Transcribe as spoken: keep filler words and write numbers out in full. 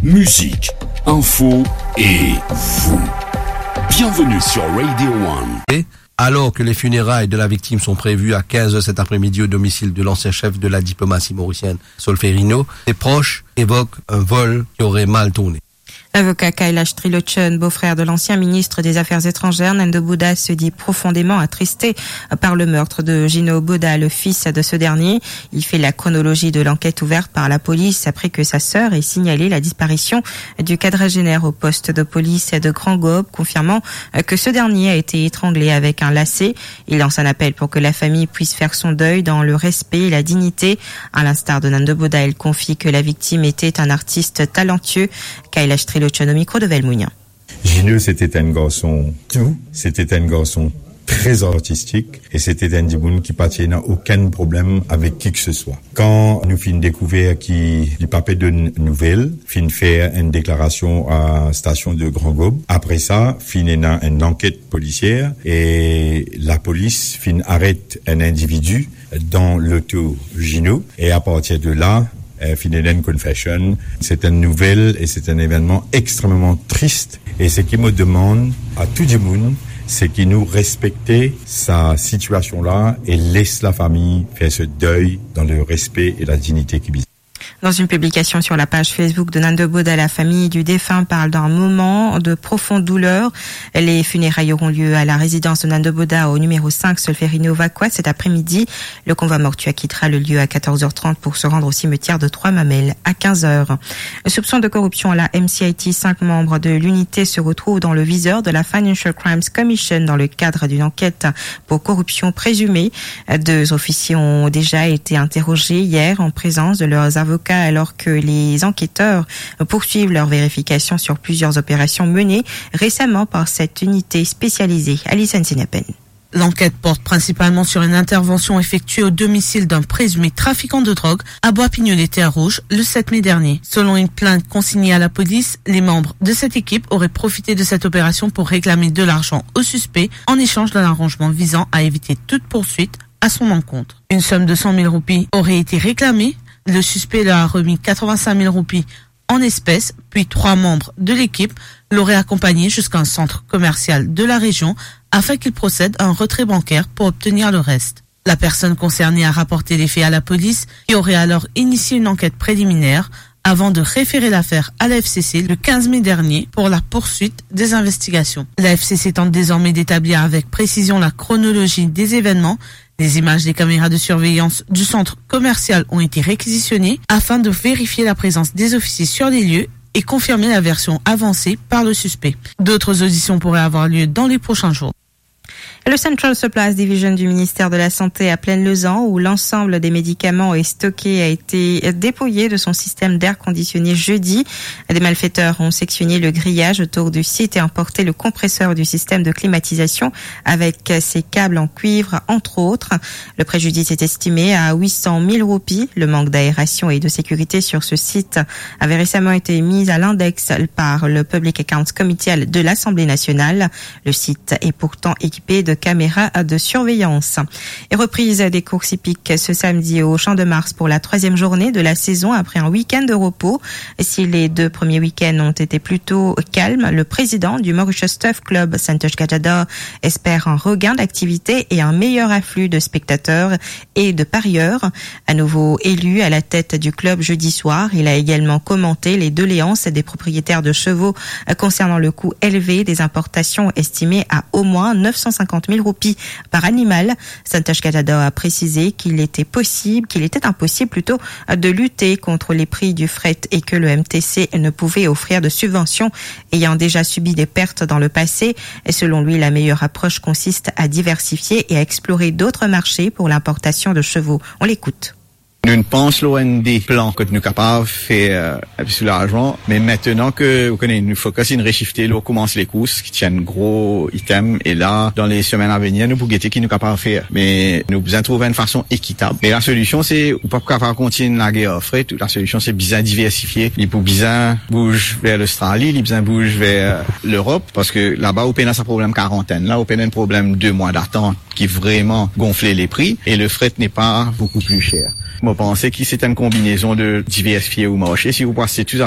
Musique, info et vous. Bienvenue sur Radio One. Et alors que les funérailles de la victime sont prévues à quinze heures cet après-midi au domicile de l'ancien chef de la diplomatie mauricienne, Solferino, ses proches évoquent un vol qui aurait mal tourné. L'avocat Kailash Trilochan, beau-frère de l'ancien ministre des Affaires étrangères, Nando Buddha, se dit profondément attristé par le meurtre de Gino Buddha, le fils de ce dernier. Il fait la chronologie de l'enquête ouverte par la police après que sa sœur ait signalé la disparition du quadragénaire au poste de police de Grand Gaube, confirmant que ce dernier a été étranglé avec un lacet. Il lance un appel pour que la famille puisse faire son deuil dans le respect et la dignité. À l'instar de Nando Buddha, il confie que la victime était un artiste talentueux. Kailash Trilochan au micro de Velmounian. Gino, c'était un garçon doux, c'était un garçon très artistique et c'était un dimoun ki pa ti ena okenn problem avek ki ke se swa. Kan nou finn dekouver ki li pa pe donn nouvel, finn fer enn deklarasion a stasion de Grand Gaube. Apre sa, finn ena enn anket polisier e lapolis finn aret enn individi dan loto Gino. E apartir de la, eh, finn ena enn confession. Se enn nouvel e se enn evennman extrememan tris. E seki mo demann a tou dimoun, seki nou respekte sa sitiasion la e les lafami fer so dey dan le respe e la dignite ki bizin. Dans une publication sur la page Facebook de Nando Buddha, la famille du défunt parle d'un moment de profonde douleur. Les funérailles auront lieu à la résidence de Nando Buddha au numéro cinq Solferino Vacoas cet après-midi. Le convoi mortuaire quittera le lieu à quatorze heures trente pour se rendre au cimetière de Trois-Mamelles à quinze heures. Soupçon de corruption à la M C I T, cinq membres de l'unité se retrouvent dans le viseur de la Financial Crimes Commission dans le cadre d'une enquête pour corruption présumée. Deux officiers ont déjà été interrogés hier en présence de leurs avocats alors que les enquêteurs poursuivent leur vérification sur plusieurs opérations menées récemment par cette unité spécialisée. Alison Sinapen. L'enquête porte principalement sur une intervention effectuée au domicile d'un présumé trafiquant de drogue à Bois-Pignolet, Terre-Rouge, le sept mai dernier. Selon une plainte consignée à la police, les membres de cette équipe auraient profité de cette opération pour réclamer de l'argent au suspect en échange d'un arrangement visant à éviter toute poursuite à son encontre. Une somme de cent mille roupies aurait été réclamée. Le suspect leur a remis quatre-vingt-cinq mille roupies en espèces, puis trois membres de l'équipe l'auraient accompagné jusqu'à un centre commercial de la région afin qu'il procède à un retrait bancaire pour obtenir le reste. La personne concernée a rapporté les faits à la police, qui aurait alors initié une enquête préliminaire avant de référer l'affaire à la F C C le quinze mai dernier pour la poursuite des investigations. La F C C tente désormais d'établir avec précision la chronologie des événements. Les images des caméras de surveillance du centre commercial ont été réquisitionnées afin de vérifier la présence des officiers sur les lieux et confirmer la version avancée par le suspect. D'autres auditions pourraient avoir lieu dans les prochains jours. Le Central Supplies Division du ministère de la Santé à Plaine-Lezan, où l'ensemble des médicaments est stockés, a été dépouillé de son système d'air conditionné jeudi. Des malfaiteurs ont sectionné le grillage autour du site et emporté le compresseur du système de climatisation avec ses câbles en cuivre, entre autres. Le préjudice est estimé à huit cent mille roupies. Le manque d'aération et de sécurité sur ce site avait récemment été mis à l'index par le Public Accounts Committee de l'Assemblée nationale. Le site est pourtant équipé de caméras de surveillance. Et reprise des courses hippiques ce samedi au Champ de Mars pour la troisième journée de la saison après un week-end de repos. Si les deux premiers week-ends ont été plutôt calmes, le président du Mauritius Turf Club, Santosh Gajadhar, espère un regain d'activité et un meilleur afflux de spectateurs et de parieurs. À nouveau élu à la tête du club jeudi soir, il a également commenté les doléances des propriétaires de chevaux, euh, concernant le coût élevé des importations estimé à au moins neuf cent cinquante mille roupies par animal. Santosh Gajadhar a précisé qu'il était possible, qu'il était impossible plutôt, euh, de lutter contre les prix du fret et que le M T C ne pouvait offrir de subventions ayant déjà subi des pertes dans le passé. Et selon lui, la meilleure approche consiste à diversifier et à explorer d'autres marchés pour l'importation de chevaux. On l'écoute. Nou pans lor enn de plan kot nou kapav fer, euh, enn pe plis larzan, me aster ke, ou kone, nou fokis inn reshifte lor koumans lekours, ki ti enn gro item, e la, dan le semenn avenir, nou pou gete ki nou kapav fer. Me nou bizin trouv enn fason ekitab. Me lasolision, se, ou pa kapav kontign lager ar fret, lasolision, se bizin diversifie. Li pou bizin bouz ver Lostrali, li bizin bouz ver Lerop, parski laba, ou pena sa problem karantenn la, ou pena enn problem de mwa datant ki vreman gonfle lepri, e le fret n'est pas beaucoup plus cher. Mo panse ki se enn konbinezon de diversifie ou marse, si ou pou aste tou zafer